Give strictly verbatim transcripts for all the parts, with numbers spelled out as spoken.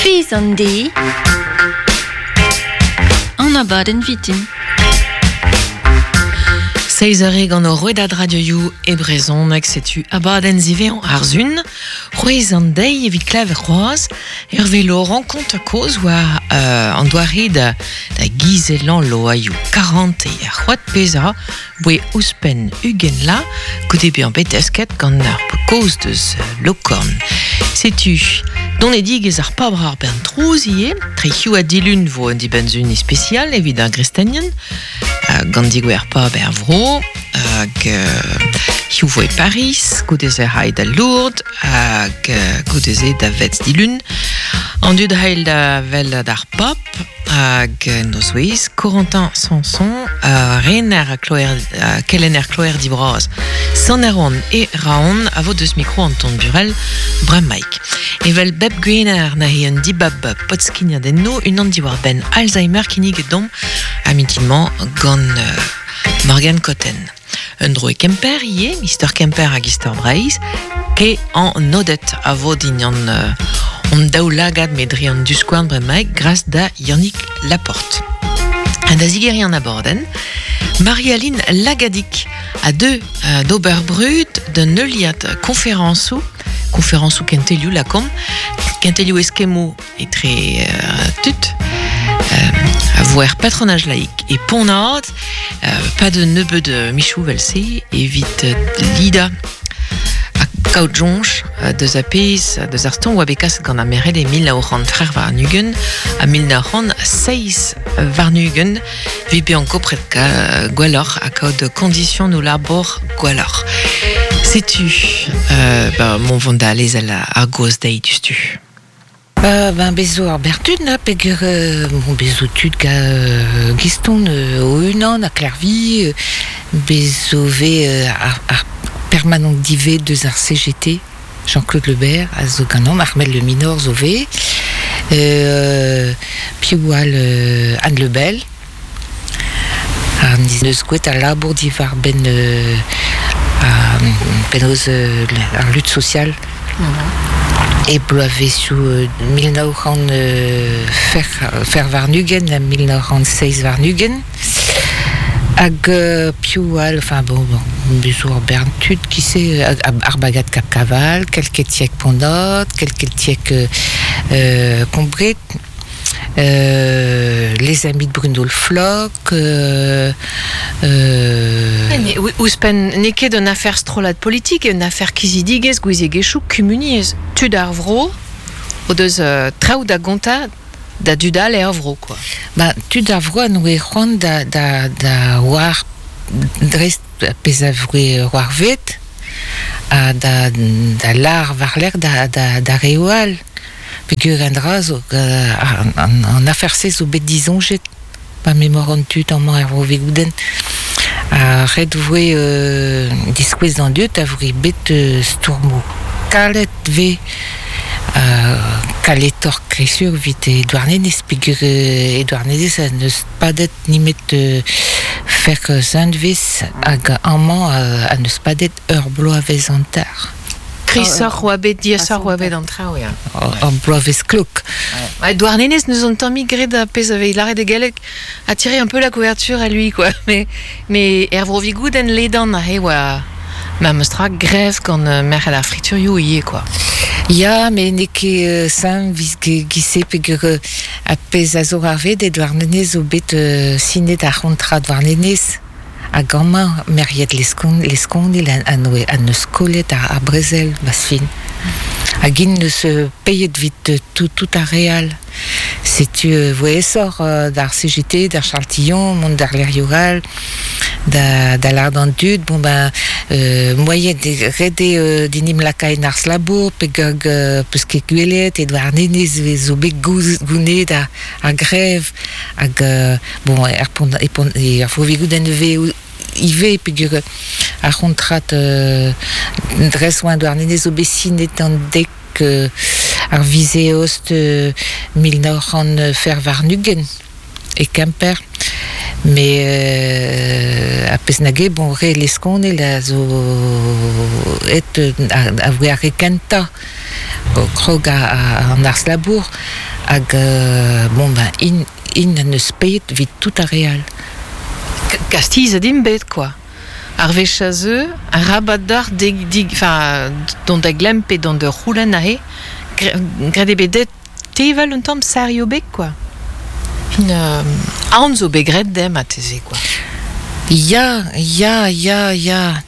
Feiz an deiz, an abadenn vitin. Seiz eur eo gant o rouedad radioioù e brezhoneg, setu abadenn ziwezhañ ar Sun, c'hwezh an deiz evit klevet c'hoazh, Hervé Laurent kont kozh war euh, an doare da, da gizellañ loaioù karante ar c'hoad pezha boe ouzhpenn ugent la goude bezañ bet desket gant ar kozh deus Lokorn. Setu donedigezh ar pabr ar bern trouz ivez, tre hiziv ha dilun vo un dibenn-sun ispisial evit ar gristenien, uh, gant digouer pab er vro, hag uh, hiziv vo e Paris, goude-se c'hay da Lourdes, hag uh, goude-se da Vetz dilun. An dud c'hail da wel d'ar pab, hag nozvezh Corentin Sanson, uh, rener kloer, uh, kelenner kloerdi bras Sant Erwan e Raon a vo deus mikro Anton Burel bremaik. Evel bep gwener na he un dibab podskignadenno unan diwar benn Alzheimer kinniget domp a mintin-mañ gant uh, Morgan Cotten. Un dro e Kemper ivez, Mister Kemper hag Istor Breizh, ke an Odet a vo din an uh, on daou lagad me dre an duskouarn bremaik gras da Yannick Laporte. Ha da zigeriñ an abadenn, Marie-Aline Lagadig a deu uh, d'ober brud d'un heuliad konferañsoù, konferañsoù kentelioù lakomp, kentelioù eskemmoù etre uh, tud, euh, a vo er patronage laïque e Pont-Aven, euh, pas de nebeud mizioù evel-se, evit euh, lidañ ha kaout soñj deus ar pezh deus ar stourm oa bet kaset gant ar merc'hed e mil nav c'hant c'hwec'h warn-ugent ha mil nav c'hant seizh warn-ugent evit bezañ gopret gwelloc'h ha kaout kondisionoù labour gwelloc'h. Setu euh, ba, mont vont da lezel ar gaoz dezhi diouzhtu. Ba, ben bezo ar bertud na peger euh, bon bezo tud ga euh, Giston euh, o unan a Klervi euh, bezo ve euh, ar, ar permanent divé deus ar C G T Jean-Claude Lebert a zo ganeomp Armel Le Minor zo ve euh, piv all euh, Anne Lebel ar neus gwet a labour diwar ben euh, a penaos euh, ar lutte sociale. E bloavezhioù euh, mil nav c'hant euh, fer, fer warn-ugent ha mil nav c'hant seizh warn-ugent. Hag euh, piv all, enfin bon, bon, bezo ar bern tud qui sait, hag, ar bagad Cap Caval, kelketiek Pont-Aven, kelketiek euh, euh, Combret, euh, les amis de Bruno Le Floch, euh, euh, Ne, ouzhpenn n'eo ket un affaire strollad politique, un affaire kizidigezh, gouiziegezhioù, kumuniezh. Tud ar vro, o deus euh, traoù da gontañ da dud all er vro, quoi. Ba, tud ar vro a noe c'hoant da, da, da war dreist pezh a voe c'hoarvet, ha da, da lar war-lerc'h da, da, da reoù all. Peogwir an dra zo, euh, an, an, an afer-se zo bet disoñjet pa memor an tud amañ er vro Vigoudenn. Ha ret voe euh, diskouez d'an dud a voe bet euh, stourmoù kalet ve euh, kaletoc'h kresur evit e Douarnenez, peogwir euh, e Douarnenez a n'eus padet nemet euh, fer zinvez hag amañ euh, a n'eus padet ur bloavezh hanter. Krisoc'h oa bet, diaesoc'h oa bet an traoù, ya. Ur bloavezh klok. Ouais, Douarnenez nous ont tammig graet a pezh a vez lâret e galleg a tiré un peu la couverture à lui, quoi. Mais, mais er vro Vigoudenn ledan a he oa ma meus tra grev gant euh, merc'hed ar friturioù ivez, quoi. Ya, met n'eo ket euh, saint vis gise peogwir euh, a pezh a zo c'hoarvet e Douarnenez zo bet euh, sinet ar c'hontrad Douarnenez. Hag amañ merc'hed Leskon, Leskonil a, a noe, a neus kollet ar, ar brezel, bas fin. Hag int neus euh, peiet vit euh, tout, tout ar re all. Setu euh, voe aesoc'h euh, d'ar C G T, d'ar Charles Tillon, mont d'ar Leriogal, da, da lâret d'an dud, bon ben, euh, moyen de ret eo euh, dinim lakaet ar labour, pe gant, euh, peus ket gwelet, e Douarnenez zo bet gouz, gounet ar, ar grev, hag, euh, bon, er pont, e pont, e ar vro Vigoudenn ve ivez, peogwir ar c'hontrad euh, dres oa Douarnenez zo bet sinet an dek euh, ar viz eost euh, mil nav c'hant fer warn-ugent e Kemper. Mais euh, a pezh nage, bon, re Leskonel a zo et, a, a voe ar re kentañ krog a, a, an arz labour hag euh, bon ben in, in an eus pet vit tout a real. Kastiz a din bet, quoi. Ar wech a zeu, ar rabat d'ar dig, dig, enfin, dont da glemp pe dont de roulen ahe, gred e bet tevel un tamm sario bet, quoi. Fin, euh, aon zo bet gret dem a teze, quoi. Ya, ya, ya, ya.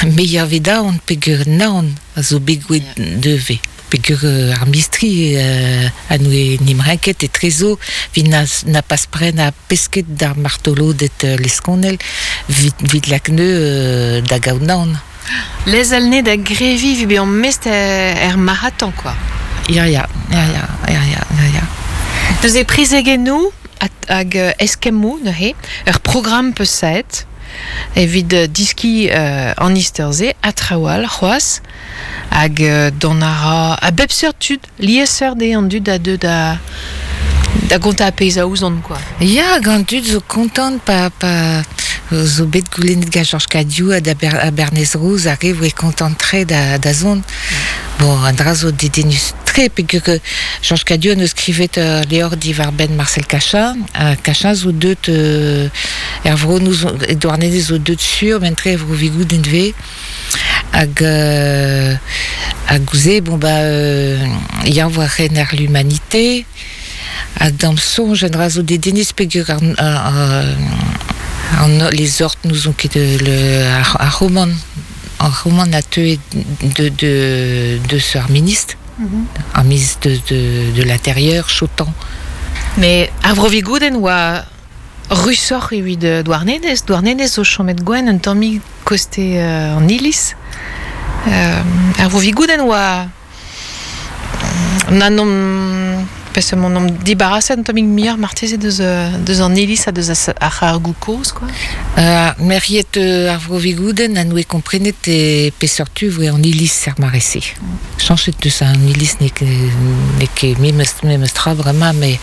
Me ya vet aon peger naon a zo bet gouet deve. Peger ar mistri euh, a noe nimrinket e trezo vit na, na pas pren a pesket d'ar martolo det euh, leskonel vit, vit lakne euh, da gaout naon. Les alne da grevi vi be an mest er, er maratan, quoi. Ya, ya, ya, ya, ya, ya, ya, ya. Deus e prezegennou hag eskemmou neuze, ur programm peus saet, evit diski euh, an isterze, a trawal, c'hoaz, hag euh, don a ra, a bep seurt tud, liesseurt e an dud a deu da, da gonta a peiz a ouzon, quoi. Ya, gant dud zo kontant pa, pa zo bet goulennet ga Georges Cadiou a da Ber, a Bernez Rouz a re voe kontant tre da, da zon. Bon, an dra zo dedennus tre, peogwir que Georges Cadiou an eus skrivet uh, leor diwar ben Marcel Cachin, uh, Cachin zo deut euh, er vro nous Douarnenez zo deut sur, ben tre vro vigoud enve, hag euh, hag gouze, bon ba euh, ya voa ren ar l'humanité, hag dam sonj an dra zo dedennus peogwir ar, ar, ar, les ortes nous ont ket le ar, ar roman ar roman a teu de de de ce ar ministre, mm-hmm. ar ministre de, de, de l'intérieur, Chotan. Mais ar vro vigouden oa rusoc'h evit Douarnenez, Douarnenez zo chomet gwen un tammig koste euh, an iliz. Euh, ar vro vigouden oa na nom pes mon nom dibarasset un tammig muioc'h marteze deus, deus an iliz ha deus ar ar goukoz, quoi. Euh, meriet euh, ar vro vigouden a noe komprenet e peseurt tu voe an iliz ar marese. Chanchet deus an iliz ne ne ket memes memes tra vraiment, mais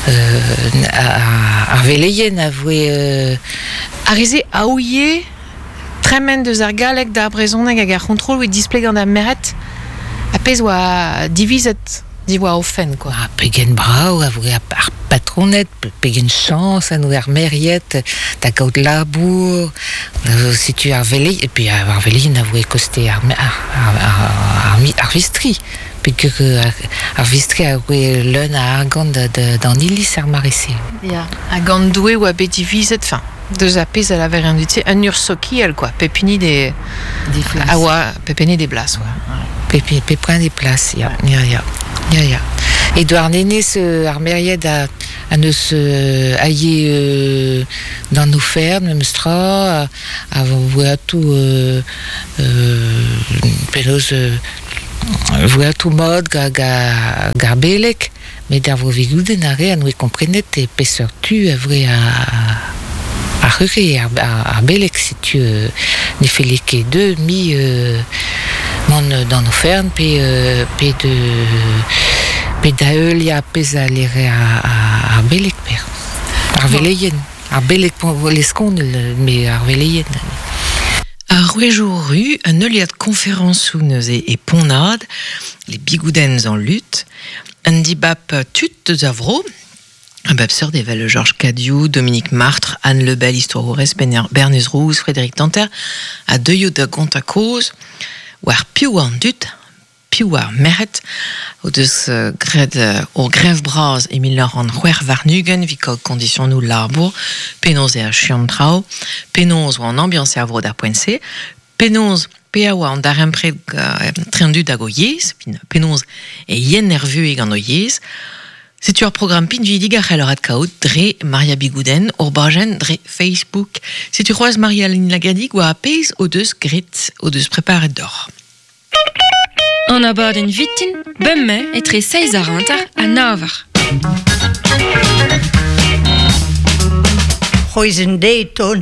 euh, ar veleien a voe euh... Ar reze aouie tremen deus ar galleg d'ar brezhoneg hag ar c'hontrol oe displeg gant ar meret a pezh oa divizet diwa o fen, quoi. Ah, pegen brao a voe ar patronet, pegen chans a noe ar meriet, da gaout labour, euh, setu ar velei, et puis ar veleien a voe koste ar, ar, ar, ar, ar, ar vistri, peogwir ar, ar vistri a voe leun a argant d'an iliz ar marese. Ya, hag an doue oa bet divizet, enfin, deus a pezh a laver an dut-se, un ur sokial, quoi, pepini de... Des places. A oa, pepini des blas, oa. Pepi, peprin des places, ya, ya, ya. Ya, ya. E Douarnenez euh, ar meriet a, a neus euh, aie euh, d'an ofern, memes tra, a, a voe atou euh, euh, penaos euh, voe atou mod ga, ga, gar belek, met ar vo vigouden a re a noe komprenet e peseurt tu a voe a, a rure ar, ar, ar belek, setu euh, ne felle ket deux mi euh, mont d'an ofern pe, euh, pe de pe da eul ya pezh a lere a, a, ar belek per. Ar veleien. Ar belek leskonel, me ar veleien. Ar rouejou ru, un euliad konferañsoù neuze e Ponnad, les bigoudens en lutte, un dibap tut deus ar vro, un bap seurt evel Georges Cadiou, Dominique Martre, Anne Lebel, Histoire Bernez Rouz, Frédéric Tanter, a deuio da gont a koz, war piv an dud, piv ar merc'hed, o deus uh, graet uh, o grev bras e mil nav c'hant c'hwec'h warn-ugent evit kaout kondisionoù labour, penaos e achuan traoù, penaos oa an ambiance ar vro d'ar poent-se, penaos pe a oa an darempred uh, tre an dud hag o yezh, penaos e yen nervue gant o yezh. Setu ar programm pinvidig a c'hell ad kaout dre Maria Bigouden, ur bajenn dre Facebook. Setu c'hoazh Maria-Aline Lagadig oa a pezh o deus gret, o deus preparet d'or. An abadenn vitin, bemme etre seizh ar hanter ha nav eur. C'hoiz en deiz ton.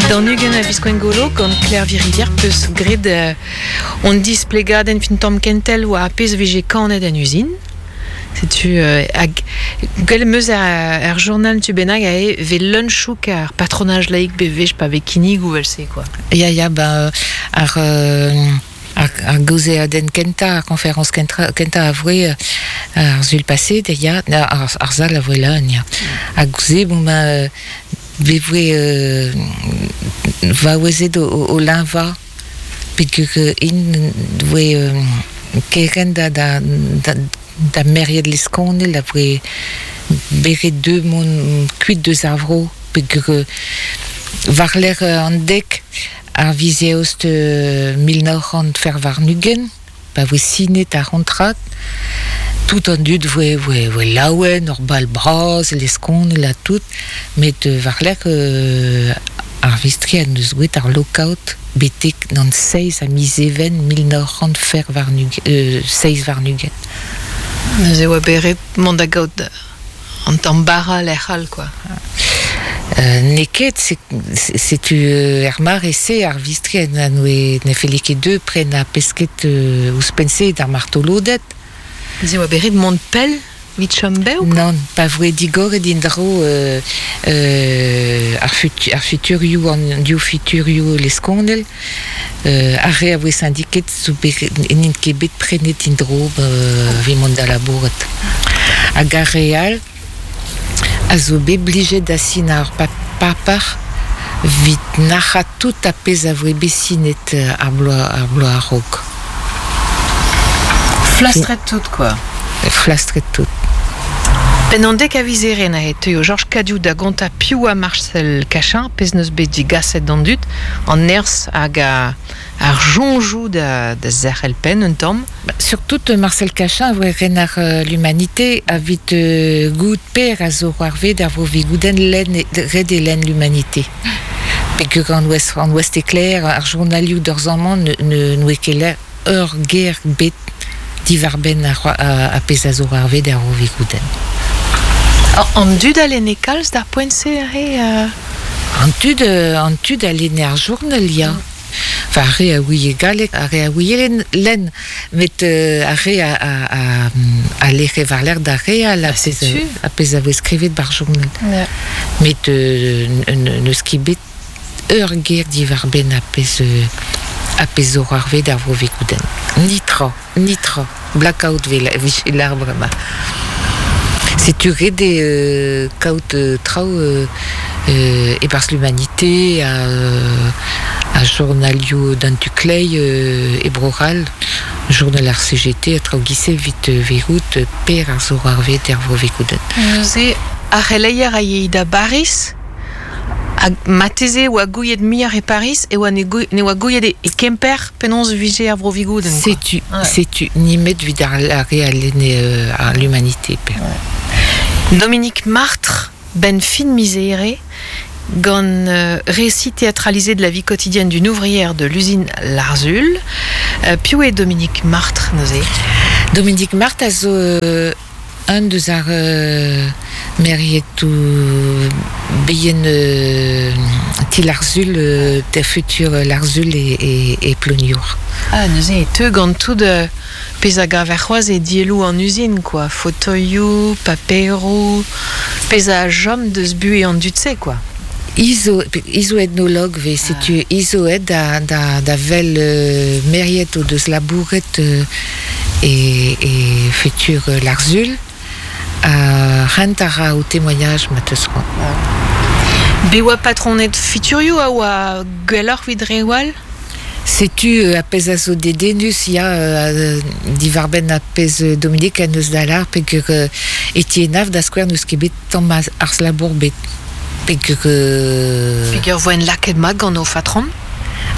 D'an ugent a viz Gwengolo, gant Claire Virivière peus gret euh, on displegadenn fin tamm kentel oa a pezh vije kanet en usine. Setu euh, hag gwell meus ar, ar journal tu bennak a e ve lunchouk ar patronage laïque be vech pa ve kinnig ou vel se, quoi. Ya, ya, ba, ar, euh, Ar, ar gauze a den kenta, ar konferans kenta, kenta a voe ar zul passé, ya, ar, ar zal a voe lan, ya. A gauze, bon, ma, be voe, euh, va oezet o, o, o linva, pegur in voe euh, keren da, da, da, da meriet leskonel, a voe beret deux mon kuit deus ar vro, pegur varler an dek, ar vizeost euh, mil nav c'hant fer warn-ugent, pa voe sinet ar c'hontrat, tout an dud voe, voe, voe laouen, ur bal bras, leskonel a tout, met euh, varler euh, ar vistri a neus gwet ar lockout betek nan seiz a miz even mil nav c'hant fer warn-ugent, euh, seiz warn-ugent. Neuze oa beret mont da gaout an tamm bara lec'h all, quoi. Euh, neket, setu euh, er mar ese ar vistri a noe ne felle ket deux pren a pesket euh, ouzhpenn-se d'ar martolodet. Neuze oa beret mont pell vit chom bev, quoi? Non, pa voe digoret indro euh, euh, ar, futu, ar futurioù an div futurioù leskonel, euh, ar re a voe syndiket zo bet n'int ket bet prenet indro euh, vi mont da labourat. Hag ar re all a zo bet blijet da sin ar papar vit nac'ha tout a pezh a voe bet sinet ar bloaz ar bloaz a-raok. Flastret tout, quoi. Flastret tout. Ben an dek a vizere na e teuio Georges Cadiou da gonta piv a Marcel Cachin, pezh neus bet digaset d'an dud, an nerzh hag a, ar jonjou da, da zerc'hel penn un tamm. Ba, surtout Marcel Cachin a voe ren ar euh, l'humanité a vit euh, gout per a zo ar ved ar vo vigouden len, red e len l'humanité. Pegur an ouest, an ouest éclair, ar journalioù d'ur zamman ne, ne, n'oe ket l'air ur ger bet divarben ar, a, a pezh a zo ar ved ar vo vigouden. An dud a lenne kalz d'ar poent-se ar re euh... An tud, an tud a lenne ar journal, ya. Enfin, ar re a ouie galleg, ar re a ouie len, len met euh, ar re a, a, a, a lec'he war l'air d'ar re a, a pezh a, a pezh a voe skrivet bar journal. Yeah. Met euh, neus ket bet ur ger diwar ben a pezh a pezh zo ar ved ar vo vegouden. Nitra, nitra, blackout vel l'arbre ma. Setu ret eo euh, kaout euh, traoù euh, euh, e-barzh l'humanité a, a journalioù d'an tu klei euh, e Bro-C'hall, journal ar C G T a traoù gise vit euh, verout per ar zo ar vet er vo vegouden. Neuze ar c'heleier a yei da Baris, hag mateze oa gouiet muioc'h e Paris e oa ne, gou, ne oa gouiet e, e Kemper penaos vije ar vro vigouden. Setu, ouais. Setu nimet vit ar, ar re a lenne euh, ar l'humanité per. Ouais. Dominique Martre, ben fin miséré, gant euh, récit théâtralisé de la vie quotidienne d'une ouvrière de l'usine Larzul. Euh, piv eo Dominique Martre, neuze? Dominique Martre a zo euh, un deus ar euh, merietou beien euh, ti Larzul, euh, ter futur Larzul e, e, e Ploniour. Ah, neuze e teu gant tout euh, pezh a gaver c'hoazh e dielloù an usine, quoi. Fauteuilloù, paperoù, pezh a jom deus buhe an dud-se, quoi. Izo, izo ethnologue ve, setu ah. Izo ed da, da, da vel euh, meriet o deus labouret euh, e, e futur euh, Larzul, a rent a ra o témoignage ma teus c'hoant. Ah. Be oa patronet futurioù a oa gwelloc'h evit re all? Setu euh, a pezh a zo dedennus ya euh, divarbenn a pezh Dominique a neus da lar pegur euh, Etienne da skouer neus ket bet tamm ar labour bet pegur euh, Pegur voen lakaet mat gant o fatron?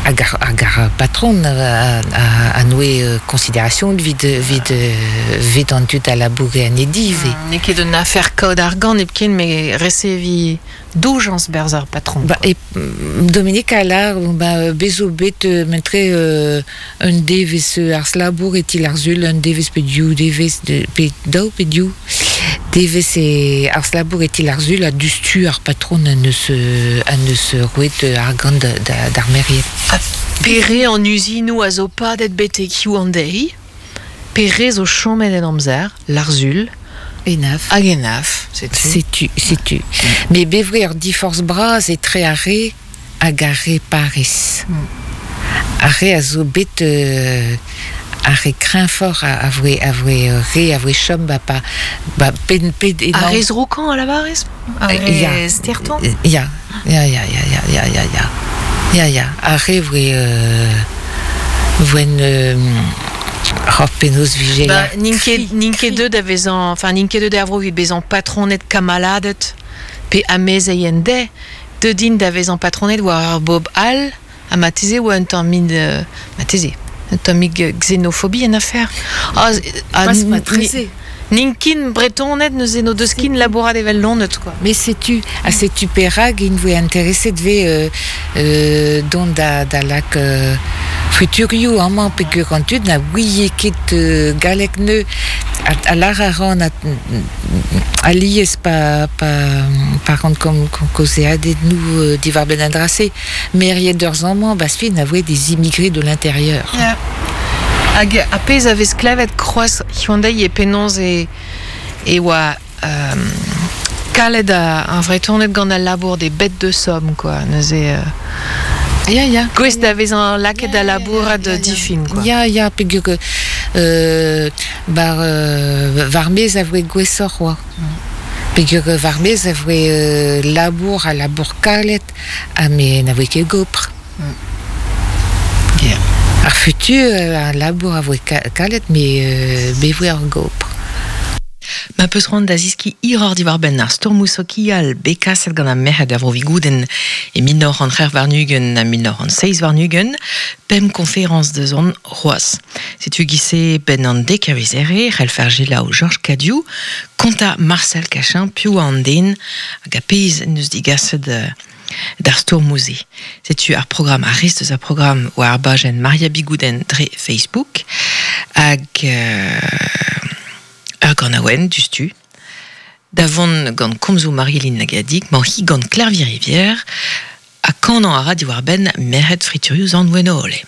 Hag ar, hag ar patron a, a, a noe euh, considération vid, vid, vid an dud a laboure an edive. Mm, n'eo ket un afer kaout argant hepken, me resevi doujans berz ar patron. Ba, e Dominique a lar, ba, bezo bet euh, mentre euh, un devez ar labour e til ar zul, un devez pe diou, devez de, pe daou pe diou. Devez e ar labour e til ar zul a dustu ar patron a neus, a neus roet argant d'ar meriet. A pere an usinou a zo padet betek hiziv an deiz, pere zo chomet en amzer, Larzul, Enaf. Hag Enaf, setu. Setu, setu. Mm. Me bevre ur diforz bras etre ar re hag ar re Paris. Mm. Ar re a zo bet euh, ar re kreñfoc'h a, a voe, a voe euh, re a voe chom ba pa ba pen ped Ar emañ re zrokañ a lavarez? Ar Euh, ya. re stertañ? Ya, ya, ya, ya, ya, ya, ya, ya. Ya, ya. Ar re voe euh, voen euh, hor penaos vije Ba, la n'int ket, n'int ket deut da vezañ, enfin, n'int ket deut da vro evit bezañ patronet kamaladet pe amezeien de, deut int da vezañ patronet war ar bob all, ha marteze oa un tamm min, euh, marteze, un tammig xénophobie en affaire. Ah, ah, Pas n- matreze. N'int kin bretonet neuze no deus kin labourat evel lonet, quoi. Mais sais-tu, a sais-tu perag in voe intéressé de euh, euh, dont da, da lak euh, futurioù amañ peogwir an tud na ouie ket euh, galleg neu a, a lar a ran a, a lies pa, pa, pa ran kom, kom kaozeadet nou euh, diwar benn an dra-se. Meriet d'ur amañ, bas fi na voe des immigrés de l'intérieur. Yeah. Hag a pezh a vez klevet kroaz hiziv e penaos e, e oa euh, kalet a, ar Vretoned gant al labour des bêtes de somme, quoi. Neuze, euh, Ya, ya. gouest da vezañ lakaet da Ya, ya, labourat ya, ya, ya. difin, quoi. Ya, ya, peogwir euh, bar, euh, war mez a voe gwesoc'h oa. Peogwir war mez a voe euh, labour a labour kalet, ha me na voe ket gopr. Yeah. Ar futur euh, ar labour a voe ka kalet, me euh, be voe ar gopr. Ma peus c'hoant da ziski hiroc'h diwar-benn ar stourmoù sokial bet kaset gant ar merc'hed er Vro-Vigoudenn e mil nav c'hant c'hwec'h warn-ugent ha mil nav c'hant seizh warn-ugent, pemp konferañs da zont c'hoazh. Setu giz-se benn an dek a viz Here, c'hellfer selaou Georges Cadiou, kontañ Marcel Cachin, piv oa an den hag a pezh en deus digaset euh, d'ar stourmoù-se. Setu ar programm ar rest eus ar programm war ar bajenn Maria Bigouden dre Facebook hag euh, ur ganaouenn diouzhtu. Da vont gant komzoù Marie-Lynn Lagadig, mañ hi gant Klervi Rivière, ha kanañ a ra diwar-benn merc'hed friturioù Sant Wennole.